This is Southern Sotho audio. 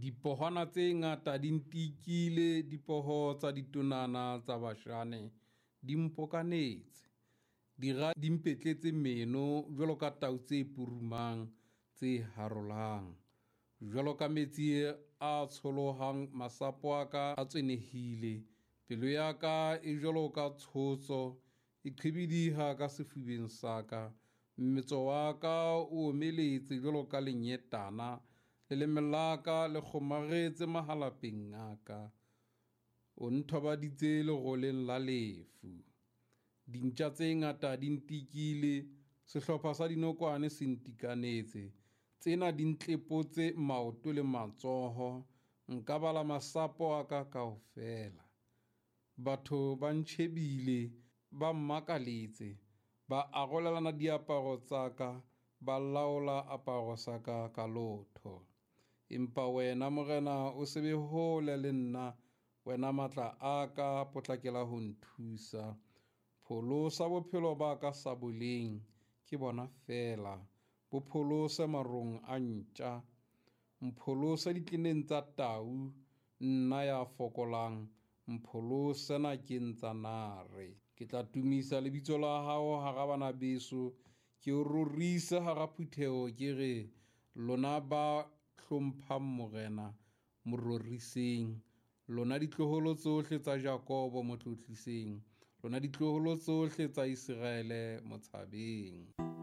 Dipohwana tse ngata di ntikile, dipoho tsa ditonana tsa Bashane di mpokanetse. Dira di mpetletse meno jwalo ka tau tse purumang, tse harolang. Jwalo ka metsi a tsholohang, masapo a ka a tswenehile, pelo ya ka e jwalo ka tshotso, e qhibidiha ka sefubeng sa ka. Mmetso wa ka o omeletse jwalo ka lenyetana, leleme la ka le kgomaretse mahalapeng a ka. O nthobaditse leroleng la lefu. Dintja tse ngata di ntikile, sehlopha sa dinokwane se ntikanetse. Tsena di ntlepotse maoto le matsoho, nka bala masapo a ka kaofela. Batho ba ntjhebile, ba mmakaletse, ba arolelana diaparo tsa ka, ba laola aparo sa ka ka lotho. Empa wena Morena o se be hole le nna, wena matla a ka, potlakela ho nthusa. Pholosa bophelo ba ka saboleng, ke bona feela, bo pholose marong a ntja. Mpholose ditleneng tsa tau, nna ya fokolang, mpholose nakeng tsa nare. Ke tla tumisa lebitso la hao hara bana beso, ke o rorise hara phutheho, ke re lona ba hlomphang Morena, mo roriseng. Lona ditloholo tsohle tsa Jakobo, mo tlotliseng. Lona ditloholo tsohle tsa Iseraele, mo tshabeng.